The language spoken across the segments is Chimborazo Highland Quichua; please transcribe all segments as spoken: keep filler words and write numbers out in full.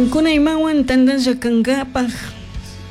Kuna imawan tantalla kankapak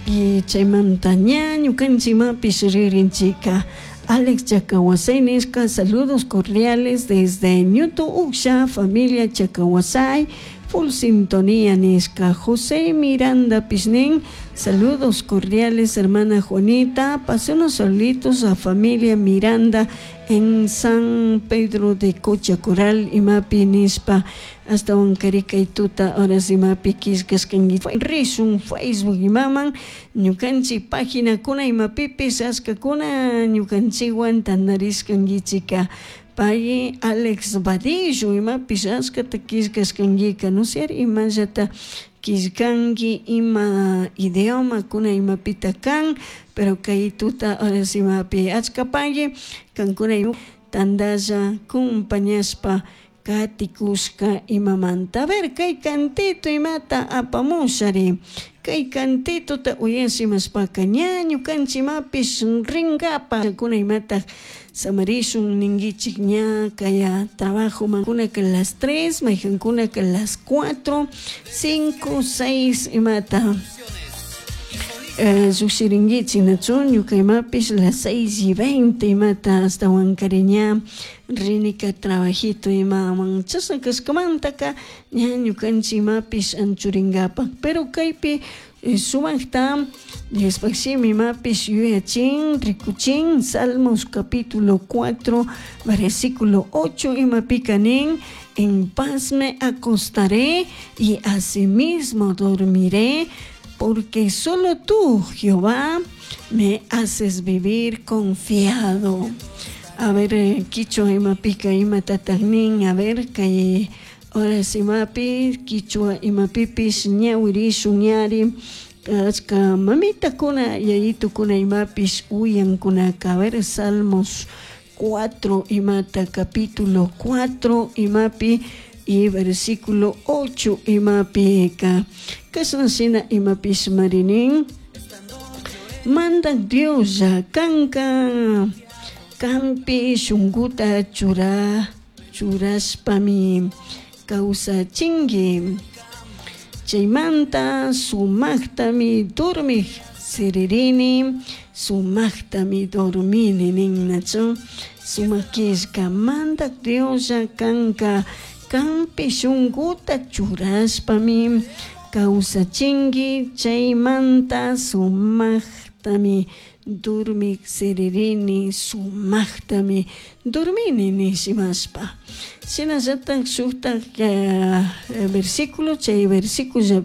y chaymanta ña ñukanchik imapish ririnchika. Alex Chacahuasay nishka, saludos cordiales desde Ñuto Uksha, familia Chacahuasay, full sintonía nishka. José Miranda Pishnin, saludos cordiales hermana Juanita, pase unos saluditos a familia Miranda en San Pedro de Cochacoral, imapi nishpa, hasta kay tuta horas imapi killkashkanki rishun Facebook imaman ñukanchik paginakuna imapipis ashkakuna ñukanchikwan tantarishkankichika. Pay Alex Vadillo imapish ashkata killkashkankika, no sé imallata killkanki ima idiomakuna imapita kan, pero kay tuta horas imapi achka pagui kankuna tantalla compañashpa katikushka imamanta. A ver kay cantito imata apamushari, kay cantitota uyash imashpaka ña ñukanchik imapish rinkapak kuna imata samarishun ninkichik ña kaya trabajo kunaka las tres, mayjankunaka las cuatro, cinco, seis imata llukshirinkichik nachu ñuka imapish las seis y veinte imata ashtawankari ña rinika trabajito imaman chashna kashkamantaka ña ñukanchik imapish anchurinkapak, pero kaypi sumakta Diospuk shimi imapish yuyachin rikuchin Salmos capítulo cuatro versículo ocho imapika nin: en paz me acostaré y asimismo dormiré, porque solo tú, Jehová, me haces vivir confiado. A ver, kichwa imapika imatatak nin, a ver, kay horas imapi, kichwa imapipish ñawirishun ñari, achka mamitakuna, yayitukuna imapish uyankunaka. A ver, Salmos cuatro imata, capítulo cuatro imapi, y versículo ocho imapika. Kashna shina imapish marinin: Mandak Dioslla, kanka kanpi shunkuta chura churashpami kawsachinki, chaymanta sumaktami dormik siririni, sumaktami dormini nin, nachu sumak killka. Mandak Dioslla, kanka kanpi shunkuta churashpami kawsachinki, chaymanta sumaktami dormik siririni, sumaktami dormini nishimashpa. Shinallatak shuktak versículo, chay versículo,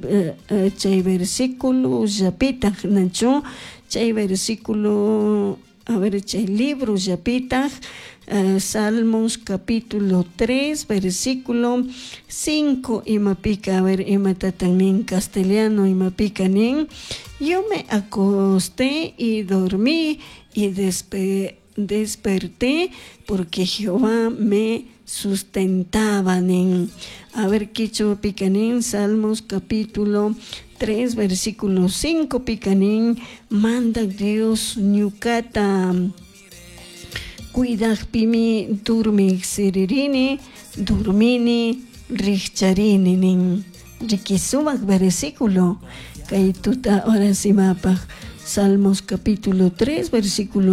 chay versículo llapitak nachu chay versículo, a ver, chay libro llapitak, Salmos capítulo tres versículo cinco imapika, a ver imatatan nin castellano imapika nin: yo me acosté y dormí y despe desperté porque Jehová me sustentaba nin. A ver, kichwapika nin, Salmos capítulo tres versículo cinco pika nin: Mandak Dios ñukata cuidakpimi dormik siririni, dormini, rikcharini nin. Riki sumak versículo kay tuta horas imapaj, Salmos capítulo tres versículo